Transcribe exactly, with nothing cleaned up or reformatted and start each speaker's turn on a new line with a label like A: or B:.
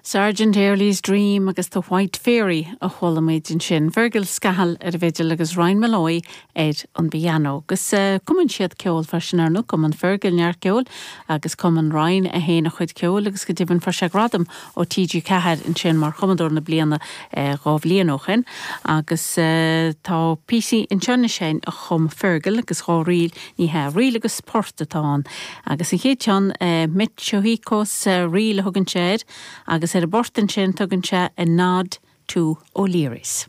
A: Sergeant Airley's Dream agus The White Fairy a chuala muid ansin. Fergal Scahill ar an bhfidil agus Ryan Malloy ar an bpianó. Agus uh, cumann siad ceol freisin ar ndóigh cumann Fergal neart ceoil agus cumann Ryan a héana chuid ceoil agus go deimhin fuair sé gradam ó TG Ceathair ansin mar chumadóir na bliana uh, dhá bhliain ó shin agus uh, tá píosa anseo sin a chum Fergal agus dhá ríl ní he ríl agus port atá ann. agus an chéad ceann uh, Mitchohíos uh, ríl a thugann sé agus ar an bport ansin tugann sé a nod to O'Leary's.